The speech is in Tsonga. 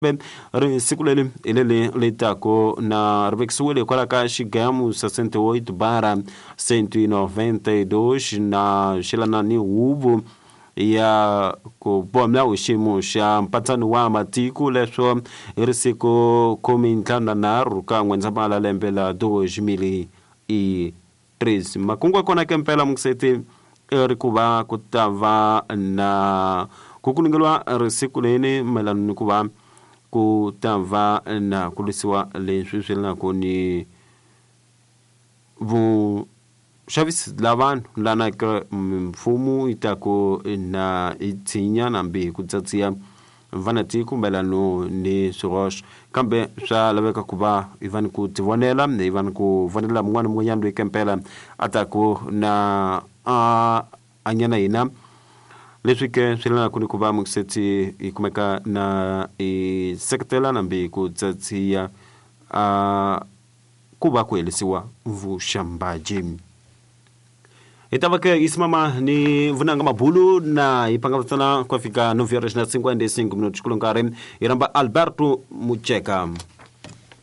Ri siku leri hi leri ri taku na ri vekisiwile hikwalaho ka xigamu 68 bara 192 na xelana ni huvo ya ku boha milawu hi xiyimo xa mpatsano wa matiko leswo hi ri siku 53 ka N'wendzamhala lembe la 2013. Makungu ya kona ke mpela mukiseti i ri ku va ku ta va na ku kulungeliwa risiku leni mayelana ni ku va ku ta va na ku lwisiwa leswi swi yelanaku ni vuxavisi la vanhu lana ke mfumo yi ta ku na yi tshinya nambi hi ku tsatsiya vanatiko mayelano ni swihoxo, kambe swa laveka ku va hi va ni ku tivonela, hi va ni ku vonela mun'wana ni mun'wanyana loyi kempela a taku na a hanya na hina. Leswi ke swi yelanaku ni ku va mukiseti hi kumeka na hi seketela nambi ku tsatsiya a ku va ku helisiwa vuxambaji. Hi ta va ke yi simama ni vunanga mabulu na hi pangavutsana ku fika 9 horas na 55 minutos kulo nkarhi hi rhamba Alberto Mucheka.